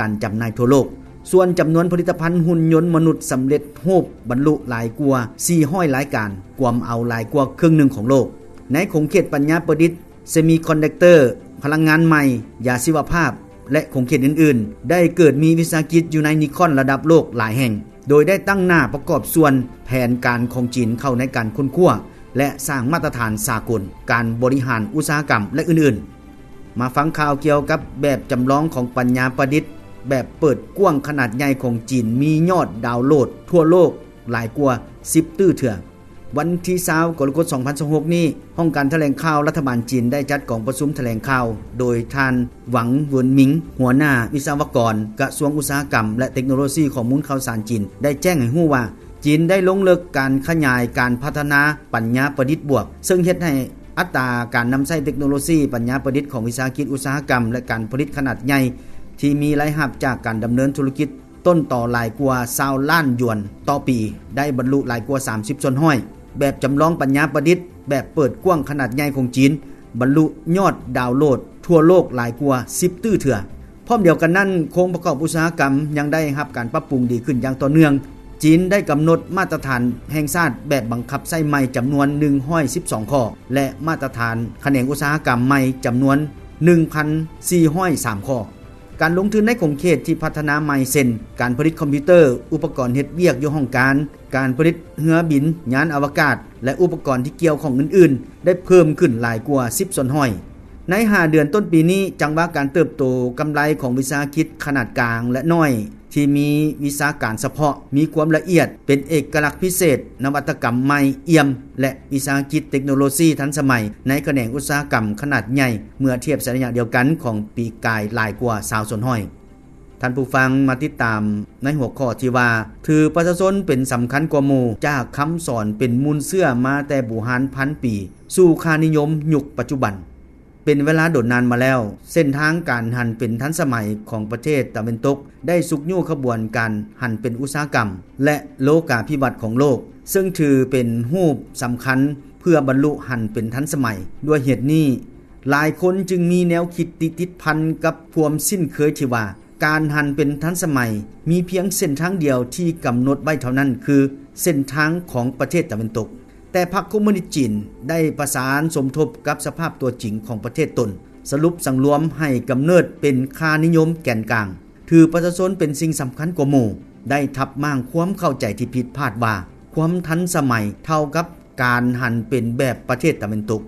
ການຈຳໜ່າຍທົ່ວໂລກ. ສ່ວນຈຳນວນຜະລິດຕະພັນຫຸ່ນຍົນມະນຸດສຳເລັດຮູບບັນລຸຫຼາຍກວ່າສີ່ຮ້ອຍລາຍການ, ກວມເອົາຫຼາຍກວ່າເຄິ່ງໜຶ່ງຂອງໂລກ. ໃນຂົງເຂດປັນຍາປະດິດ, ເຊມີຄອນດັກເຕີ, ພະລັງງານໃໝ່, ຢາຊີວະພາບ ແລະ ຂົງເຂດອື່ນໆ, ໄດ້ເກີດມີວິສາຫະກິດ Unicorn ລະດັບໂລກຫຼາຍແຫ່ງ, ໂດຍໄດ້ຕັ້ງໜ້າປະກອບສ່ວນແຜນການຂອງຈີນເຂົ້າໃນການຄົ້ນຄວ້າ ແລະ ສ້າງມາດຕະຖານສາກົນການບໍລິຫານອຸດສາຫະກຳ ແລະ ອື່ນໆ. ມາຟັງຂ່າວກ່ຽວກັບແບບຈຳລອງຂອງປັນຍາປະດິດແບບເປີດກວ້າງຂະໜາດໃຫຍ່ຂອງຈີນ ມີຍອດດາວໂຫຼດທົ່ວໂລກຫຼາຍກວ່າສິບຕື້ເທື່ອ. ວັນທີຊາວ ກໍລະກົດ ສອງພັນຊາວຫົກນີ້, ຫ້ອງການຖະແຫຼງຂ່າວລັດຖະບານຈີນໄດ້ຈັດກອງປະຊຸມຖະແຫຼງຂ່າວ ໂດຍທ່ານ ຫວັງ ເຫວິນມິງ ຫົວໜ້າວິສະວະກອນກະຊວງອຸດສາຫະກຳ ແລະ ເຕັກໂນໂລຊີຂໍ້ມູນຂ່າວສານຈີນ ໄດ້ແຈ້ງໃຫ້ຮູ້ວ່າ ຈີນໄດ້ລົງເລິກການຂະຫຍາຍການພັດທະນາປັນຍາປະດິດບວກ, ເຊິ່ງເຮັດໃຫ້ອັດຕາການນຳໃຊ້ເຕັກໂນໂລຊີປັນຍາປະດິດຂອງວິສາຫະກິດອຸດສາຫະກຳ ແລະ ການຜະລິດຂະໜາດໃຫຍ່ ທີ່ມີລາຍຮັບຈາກການດຳເນີນທຸລະກິດ ຕົ້ນຕໍຫຼາຍກວ່າຊາວລ້ານຢວນຕໍ່ປີ ໄດ້ບັນລຸຫຼາຍກວ່າສາມສິບສ່ວນຮ້ອຍ. ແບບຈຳລອງປັນຍາປະດິດແບບເປີດກວ້າງຂະໜາດໃຫຍ່ຂອງຈີນ ບັນລຸຍອດດາວໂຫຼດທົ່ວໂລກຫຼາຍກວ່າສິບຕື້ເທື່ອ. ພ້ອມດຽວກັນນັ້ນ, ໂຄງປະກອບອຸດສາຫະກຳຍັງໄດ້ຮັບການປັບປຸງດີຂຶ້ນຢ່າງຕໍ່ເນື່ອງ. ຈີນໄດ້ກຳນົດມາດຕະຖານແຫ່ງຊາດແບບບັງຄັບໃຊ້ໃໝ່ຈຳນວນໜຶ່ງຮ້ອຍສິບສອງຂໍ້ ແລະ ມາດຕະຖານຂະແໜງອຸດສາຫະກຳໃໝ່ຈຳນວນໜຶ່ງພັນສີ່ຮ້ອຍສາມຂໍ້. ການລົງທຶນໃນຂົງເຂດທີ່ພັດທະນາໃໝ່ ເຊັ່ນ ການຜະລິດຄອມພິວເຕີ, ອຸປະກອນເຮັດວຽກຢູ່ຫ້ອງການ, ການຜະລິດເຮືອບິນ, ຍານອະວະກາດ ແລະ ອຸປະກອນທີ່ກ່ຽວຂ້ອງອື່ນໆ ໄດ້ເພີ່ມຂຶ້ນຫຼາຍກວ່າສິບສ່ວນຮ້ອຍ. ໃນຫ້າເດືອນຕົ້ນປີນີ້, ຈັງຫວະການເຕີບໂຕກຳໄລຂອງວິສາຫະກິດຂະໜາດກາງ ແລະ ນ້ອຍ ທີ່ມີວິຊາການສະເພາະ, ມີຄວາມລະອຽດ, ເປັນເອກະລັກພິເສດ, ນະວັດຕະກຳໃໝ່, ອ່ຽມ ແລະ ວິສາຫະກິດເຕັກໂນໂລຊີທັນສະໄໝໃນຂະແໜງອຸດສາຫະກຳຂະໜາດໃຫຍ່ ເມື່ອທຽບໃສ່ໄລຍະດຽວກັນຂອງປີກາຍຫຼາຍກວ່າຊາວສ່ວນຮ້ອຍ. ທ່ານຜູ້ຟັງມາຕິດຕາມໃນຫົວຂໍ້ທີ່ວ່າ ຖືປະຊາຊົນເປັນສຳຄັນກວ່າໝູ່, ຈາກຄຳສອນເປັນມູນເຊື້ອມາແຕ່ບູຮານພັນປີ ສູ່ຄ່ານິຍົມຍຸກປັດຈຸບັນ. ເປັນເວລາດົນນານມາແລ້ວ, ເສັ້ນທາງການຫັນເປັນທັນສະໄໝຂອງປະເທດຕາເວັນຕົກ ໄດ້ຊຸກຍູ້ຂະບວນການຫັນເປັນອຸດສາຫະກຳ ແລະ ໂລກາພິວັດຂອງໂລກ, ເຊິ່ງຖືເປັນຮູບສຳຄັນເພື່ອບັນລຸຫັນເປັນທັນສະໄໝ. ດ້ວຍເຫດນີ້, ຫຼາຍຄົນຈຶ່ງມີແນວຄິດຕິດຕິດພັນກັບຄວາມຊິນເຄີຍທີ່ວ່າ ການຫັນເປັນທັນສະໄໝ ມີພຽງເສັ້ນທາງດຽວທີ່ກຳນົດໄວ້ເທົ່ານັ້ນ ຄືເສັ້ນທາງຂອງປະເທດຕາເວັນຕົກ. ແຕ່ພັກຄອມມູນິດຈີນໄດ້ປະສານສົມທົບກັບສະພາບຕົວຈິງຂອງປະເທດຕົນ, ສະຫຼຸບສັງລວມໃຫ້ກຳເນີດເປັນຄ່ານິຍົມແກນກາງ, ຖືປະຊາຊົນເປັນສິ່ງສຳຄັນກວ່າໝູ່, ໄດ້ທັບມ້າງຄວາມເຂົ້າໃຈທີ່ຜິດພາດວ່າ ຄວາມທັນສະໄໝເທົ່າກັບການຫັນເປັນແບບປະເທດຕາເວັນຕົກ.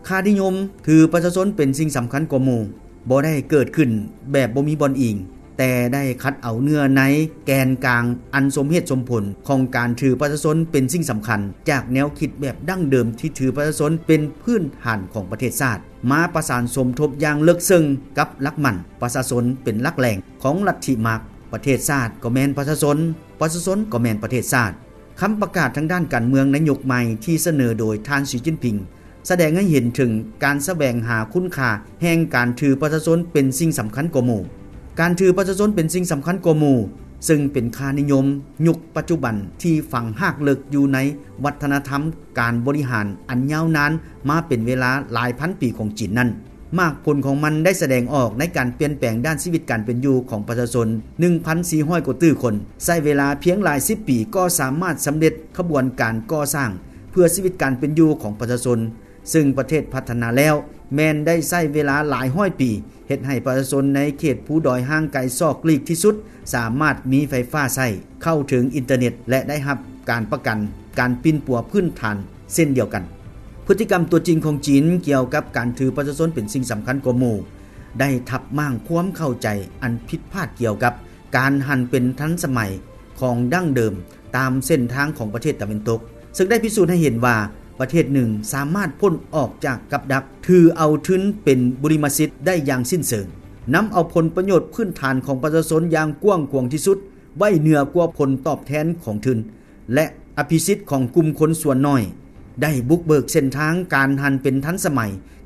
ຄ່ານິຍົມຖືປະຊາຊົນເປັນສິ່ງສຳຄັນກວ່າໝູ່ ບໍ່ໄດ້ເກີດຂຶ້ນແບບບໍ່ມີບ່ອນອີງ, ແຕ່ໄດ້ຂັດເອົາເນື້ອໃນແກນກາງອັນສົມເຫດສົມຜົນຂອງການຖືປະຊາຊົນເປັນສິ່ງສຳຄັນ ຈາກແນວຄິດແບບດັ້ງເດີມທີ່ຖືປະຊາຊົນເປັນພື້ນຖານຂອງປະເທດຊາດ, ມາປະສານສົມທົບຢ່າງເລິກເຊິ່ງກັບຫຼັກໝັ້ນປະຊາຊົນເປັນຫຼັກແຫຼ່ງຂອງລັດທິມາກ. ປະເທດຊາດກໍແມ່ນປະຊາຊົນ, ປະຊາຊົນກໍແມ່ນປະເທດຊາດ. ຄຳປະກາດທາງດ້ານການເມືອງໃນຍຸກໃໝ່ທີ່ສະເໜີໂດຍທ່ານ ສີ ຈິ້ນຜິງ ສະແດງໃຫ້ເຫັນເຖິງການສະແຫວງຫາຄຸນຄ່າແຫ່ງການຖືປະຊາຊົນເປັນສິ່ງສຳຄັນກວ່າໝູ່. ການຖືປະຊາຊົນເປັນສິ່ງສຳຄັນກວ່າໝູ່ ເຊິ່ງເປັນຄ່ານິຍົມຍຸກປັດຈຸບັນທີ່ຝັງຮາກເລິກຢູ່ໃນວັດທະນະທຳການບໍລິຫານອັນຍາວນານມາເປັນເວລາຫຼາຍພັນປີຂອງຈີນນັ້ນ. ໝາກຜົນຂອງມັນໄດ້ສະແດງອອກໃນການປ່ຽນແປງດ້ານຊີວິດການເປັນຢູ່ຂອງປະຊາຊົນໜຶ່ງພັນສີ່ຮ້ອຍກວ່າຕື້ຄົນ, ໃຊ້ເວລາພຽງຫຼາຍສິບປີກໍສາມາດສຳເລັດຂະບວນການກໍ່ສ້າງເພື່ອຊີວິດການເປັນຢູ່ຂອງປະຊາຊົນ, ເຊິ່ງປະເທດພັດທະນາແລ້ວແມ່ນໄດ້ໃຊ້ເວລາຫຼາຍຮ້ອຍປີ, ເຮັດໃຫ້ປະຊາຊົນໃນເຂດພູດອຍຫ່າງໄກຊອກຫຼີກທີ່ສຸດ ສາມາດມີໄຟຟ້າໃຊ້, ເຂົ້າເຖິງອິນເຕີເນັດ ແລະ ໄດ້ຮັບການປະກັນການປິ່ນປົວພື້ນຖານເຊັ່ນດຽວກັນ. ພຶດຕິກຳຕົວຈິງຂອງຈີນກ່ຽວກັບການຖືປະຊາຊົນເປັນສິ່ງສຳຄັນກວ່າໝູ່ ໄດ້ທັບມ້າງຄວາມເຂົ້າໃຈອັນຜິດພາດກ່ຽວກັບການຫັນເປັນທັນສະໄໝຂອງດັ້ງເດີມຕາມເສັ້ນທາງຂອງປະເທດຕາເວັນຕົກ, ເຊິ່ງໄດ້ພິສູດໃຫ້ເຫັນວ່າປະເທດໜຶ່ງສາມາດພົ້ນອອກຈາກກັບດັກຖືເອົາທຶນເປັນບຸລິມະສິດໄດ້ຢ່າງສິ້ນເຊີງ, ນຳເອົາຜົນປະໂຫຍດພື້ນຖານຂອງປະຊາຊົນຢ່າງກວ້າງຂວາງທີ່ສຸດ ໄວ້ເໜືອກວ່າຜົນຕອບແທນຂອງທຶນ ແລະ ອະພິສິດຂອງກຸ່ມຄົນສ່ວນໜ້ອຍ, ໄດ້ບຸກເບີກເສັ້ນທາງການຫັນເປັນທັນສະໄໝ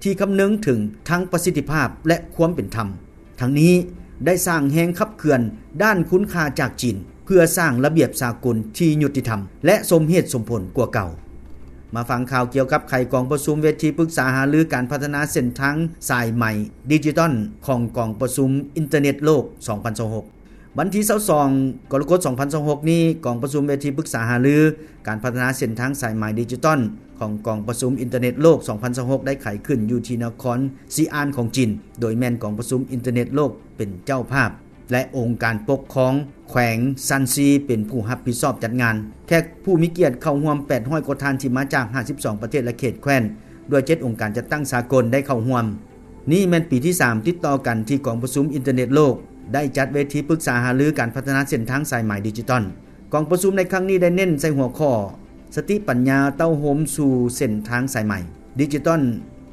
ທີ່ຄຳນຶງເຖິງທັງປະສິດທິພາບ ແລະ ຄວາມເປັນທຳ. ທັງນີ້ໄດ້ສ້າງແຮງຂັບເຄື່ອນດ້ານຄຸນຄ່າຈາກຈີນ ເພື່ອສ້າງລະບຽບສາກົນທີ່ຍຸຕິທຳ ແລະ ສົມເຫດສົມຜົນກວ່າເກົ່າ. ມາຟັງຂ່າວກ່ຽວກັບໄຂກອງປະຊຸມເວທີປຶກສາຫາລືການພັດທະນາເສັ້ນທາງສາຍໄໝດິຈິຕອນຂອງກອງປະຊຸມອິນເຕີເນັດໂລກສອງພັນຊາວຫົກ. ວັນທີຊາວສອງ ກໍລະກົດ ສອງພັນຊາວຫົກນີ້, ກອງປະຊຸມເວທີປຶກສາຫາລືການພັດທະນາເສັ້ນທາງສາຍໄໝດິຈິຕອນຂອງກອງປະຊຸມອິນເຕີເນັດໂລກສອງພັນຊາວຫົກ ໄດ້ໄຂຂຶ້ນຢູ່ທີ່ນະຄອນຊີອານຂອງຈີນ, ໂດຍແມ່ນກອງປະຊຸມອິນເຕີເນັດໂລກເປັນເຈົ້າພາບ ແລະ ອົງການປົກຄອງແຂວງຊານຊີເປັນຜູ້ຮັບຜິດຊອບຈັດງານ. ແຂກຜູ້ມີກຽດເຂົ້າຮ່ວມແປດຮ້ອຍກວ່າທ່ານທີ່ມາຈາກຫ້າສິບສອງປະເທດ ແລະ ເຂດແຄວ້ນ ດ້ວຍເຈັດອົງການຈັດຕັ້ງສາກົນໄດ້ເຂົ້າຮ່ວມ. ນີ້ແມ່ນປີທີສາມຕິດຕໍ່ກັນທີ່ກອງປະຊຸມອິນເຕີເນັດໂລກໄດ້ຈັດເວທີປຶກສາຫາລືການພັດທະນາເສັ້ນທາງສາຍໄໝດິຈິຕອນ. ກອງປະຊຸມໃນຄັ້ງນີ້ໄດ້ເນັ້ນໃສ່ຫົວຂໍ້ ສະຕິປັນຍາເຕົ້າໂຮມສູ່ເສັ້ນທາງສາຍໄໝດິຈິຕອນ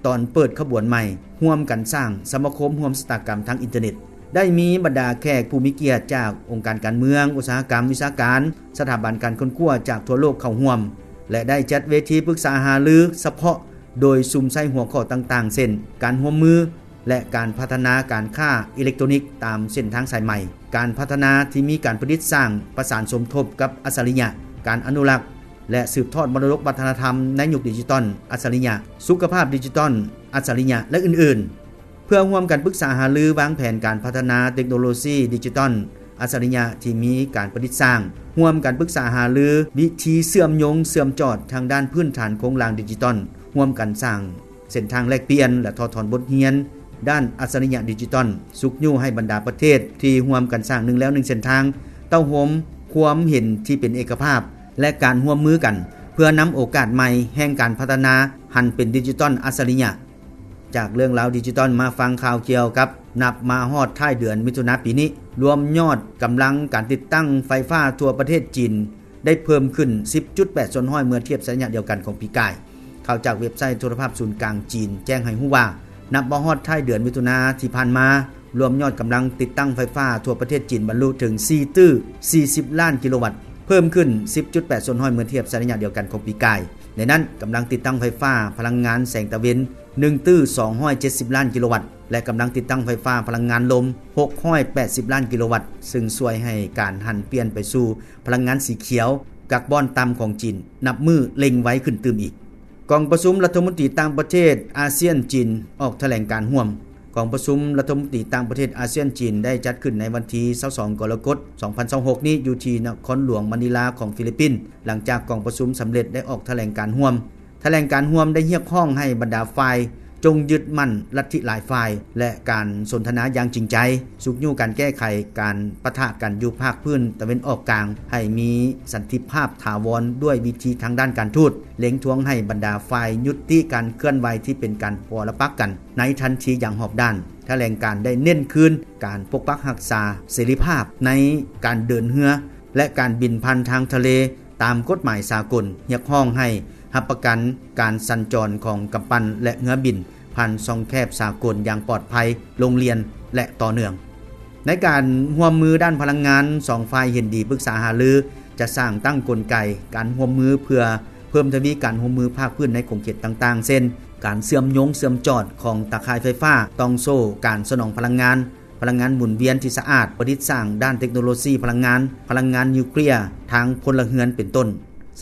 ຕອນເປີດຂະບວນໃໝ່ ຮ່ວມກັນສ້າງສະມາຄົມຮ່ວມຊະຕາກຳທາງອິນເຕີເນັດ. ໄດ້ມີບັນດາແຂກຜູ້ມີກຽດຈາກອົງການການເມືອງ, ອຸດສາຫະກຳ, ວິຊາການ, ສະຖາບັນການຄົ້ນຄວ້າຈາກທົ່ວໂລກເຂົ້າຮ່ວມ ແລະ ໄດ້ຈັດເວທີປຶກສາຫາລືສະເພາະ ໂດຍສຸມໃສ່ຫົວຂໍ້ຕ່າງໆ ເຊັ່ນ ການຮ່ວມມື ແລະ ການພັດທະນາການຄ້າອີເລັກໂຕຣນິກຕາມເສັ້ນທາງສາຍໄໝ, ການພັດທະນາທີ່ມີການປະດິດສ້າງປະສານສົມທົບກັບອັດສະລິຍະ, ການອະນຸລັກ ແລະ ສືບທອດມໍລະດົກວັດທະນະທຳໃນຍຸກດິຈິຕອນອັດສະລິຍະ, ສຸຂະພາບດິຈິຕອນອັດສະລິຍະ ແລະ ອື່ນໆ. ເພື່ອຮ່ວມກັນປຶກສາຫາລືວາງແຜນການພັດທະນາເຕັກໂນໂລຊີດິຈິຕອນອັດສະລິຍະທີ່ມີການປະດິດສ້າງ, ຮ່ວມກັນປຶກສາຫາລືວິທີເຊື່ອມໂຍງເຊື່ອມຈອດທາງດ້ານພື້ນຖານໂຄງລ່າງດິຈິຕອນ, ຮ່ວມກັນສ້າງ ເສັ້ນທາງແລກປ່ຽນ ແລະ ຖອດຖອນບົດຮຽນດ້ານອັດສະລິຍະດິຈິຕອນ, ຊຸກຍູ້ໃຫ້ບັນດາປະເທດທີ່ຮ່ວມກັນສ້າງໜຶ່ງແລວໜຶ່ງເສັ້ນທາງ ເຕົ້າໂຮມຄວາມເຫັນທີ່ເປັນເອກະພາບ ແລະ ການຮ່ວມມືກັນ ເພື່ອນຳໂອກາດໃໝ່ແຫ່ງການພັດທະນາຫັນເປັນດິຈິຕອນອັດສະລິຍະ. ຈາກເລື່ອງລາວດິຈິຕອນ ມາຟັງຂ່າວກ່ຽວກັບ ນັບມາຮອດທ້າຍເດືອນມິຖຸນາປີນີ້, ລວມຍອດກຳລັງການຕິດຕັ້ງໄຟຟ້າທົ່ວປະເທດຈີນ ໄດ້ເພີ່ມຂຶ້ນສິບຈຸດແປດສ່ວນຮ້ອຍເມື່ອທຽບໃສ່ໄລຍະດຽວກັນຂອງປີກາຍ. ຂ່າວຈາກເວັບໄຊໂທລະພາບສູນກາງຈີນແຈ້ງໃຫ້ຮູ້ວ່າ, ນັບມາຮອດທ້າຍເດືອນມິຖຸນາທີ່ຜ່ານມາ, ລວມຍອດກຳລັງຕິດຕັ້ງໄຟຟ້າທົ່ວປະເທດຈີນບັນລຸເຖິງສີ່ຕື້ສີ່ສິບລ້ານກິໂລວັດ, ເພີ່ມຂຶ້ນສິບຈຸດແປດສ່ວນຮ້ອຍເມື່ອທຽບໃສ່ໄລຍະດຽວກັນຂອງປີກາຍ. ໃນນັ້ນ, ກຳລັງຕິດຕັ້ງໄຟຟ້າພະລັງງານແສງຕາເວັນໜຶ່ງຕື້ສອງຮ້ອຍເຈັດສິບລ້ານກິໂລວັດ ແລະ ກຳລັງຕິດຕັ້ງໄຟຟ້າພະລັງງານລົມຫົກຮ້ອຍແປດສິບລ້ານກິໂລວັດ, ເຊິ່ງຊ່ວຍໃຫ້ການຫັນປ່ຽນໄປສູ່ພະລັງງານສີຂຽວ ກາກບອນຕ່ຳຂອງຈີນ ນັບມື້ເລັ່ງໄວຂຶ້ນຕື່ມອີກ. ກອງປະຊຸມລັດຖະມົນຕີຕ່າງປະເທດອາຊຽນ-ຈີນ ອອກຖະແຫຼງການຮ່ວມ. ກອງປະຊຸມລັດຖະມົນຕີຕ່າງປະເທດອາຊຽນ-ຈີນ ໄດ້ຈັດຂຶ້ນໃນວັນທີຊາວສອງ ກໍລະກົດ ສອງພັນຊາວຫົກນີ້ ຢູ່ທີ່ນະຄອນຫຼວງມະນີລາຂອງຟີລິບປິນ, ຫຼັງຈາກກອງປະຊຸມສຳເລັດໄດ້ອອກຖະແຫຼງການຮ່ວມ. ຖະແຫຼງການຮ່ວມໄດ້ຮຽກຮ້ອງໃຫ້ບັນດາຝ່າຍຈົ່ງຍຶດໝັ້ນລັດທິຫຼາຍຝ່າຍ ແລະ ການສົນທະນາຢ່າງຈິງໃຈ, ຊຸກຍູ້ການແກ້ໄຂການປະທະກັນຢູ່ພາກພື້ນຕາເວັນອອກກາງໃຫ້ມີສັນຕິພາບຖາວອນດ້ວຍວິທີທາງດ້ານການທູດ, ເລັ່ງທວງໃຫ້ບັນດາຝ່າຍຍຸຕິການເຄື່ອນໄຫວທີ່ເປັນການປໍລະປັກກັນໃນທັນທີຢ່າງຮອບດ້ານ. ຖະແຫຼງການໄດ້ເນັ້ນຄືນການປົກປັກຮັກສາເສລີພາບໃນການເດີນເຮືອ ແລະ ການບິນຜ່ານທາງທະເລ ຕາມກົດໝາຍສາກົນ, ຮຽກຮ້ອງໃຫ້ຮັບປະກັນການສັນຈອນຂອງກຳປັ່ນ ແລະ ເຮືອບິນຜ່ານຊ່ອງແຄບສາກົນຢ່າງປອດໄພ, ໂລ່ງລ່ຽນ ແລະ ຕໍ່ເນື່ອງ. ໃນການຮ່ວມມືດ້ານພະລັງງານ, ສອງຝ່າຍເຫັນດີປຶກສາຫາລືຈະສ້າງຕັ້ງກົນໄກການຮ່ວມມືເພື່ອເພີ່ມທະວີການຮ່ວມມືພາກພື້ນໃນຂົງເຂດຕ່າງໆ ເຊັ່ນ ການເຊື່ອມໂຍງເຊື່ອມຈອດຂອງຕາຂ່າຍໄຟຟ້າ, ຕ່ອງໂສ້ການສະໜອງພະລັງງານ, ພະລັງງານໝູນວຽນທີ່ສະອາດ, ປະດິດສ້າງດ້ານເຕັກໂນໂລຊີພະລັງງານ, ພະລັງງານນິວເຄລຍ, ທາງພົນລະເຮືອນ ເປັນຕົ້ນ,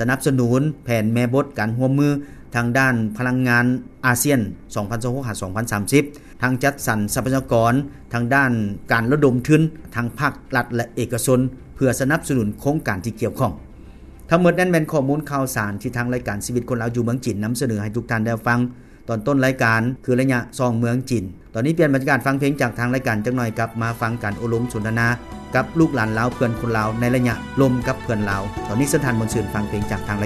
ສະໜັບສະໜູນແຜນແມ່ບົດການຮ່ວມມືທາງດ້ານພະລັງງານອາຊຽນ ສອງພັນຊາວຫົກ ຫາ ສອງພັນສາມສິບ, ທັງຈັດສັນຊັບພະຍາກອນທາງດ້ານການລະດົມທຶນ ທັງພາກລັດ ແລະ ເອກະຊົນ ເພື່ອສະໜັບສະໜູນໂຄງການທີ່ກ່ຽວຂ້ອງ. ທັງໝົດນັ້ນແມ່ນຂໍ້ມູນຂ່າວສານທີ່ທາງລາຍການຊີວິດຄົນລາວຢູ່ເມືອງຈີນນຳສະເໜີໃຫ້ທຸກທ່ານໄດ້ຮັບຟັງ. ຕອນຕົ້ນລາຍການຄືໄລຍະສ່ອງເມືອງຈີນ. ຕອນນີ້ປ່ຽນບັນຍາກາດຟັງເພງຈາກທາງລາຍການຈັກໜ່ອຍ, ກັບມາຟັງການໂອ້ລົມສົນທະນາກັບລູກຫຼານລາວເພື່ອນຄົນລາວໃນໄລຍະລົມກັບເພື່ອນລາວ. ຕອນນີ້ເຊີນທ່ານມ່ວນຊື່ນຟັງເພງຈາກທາງລາຍ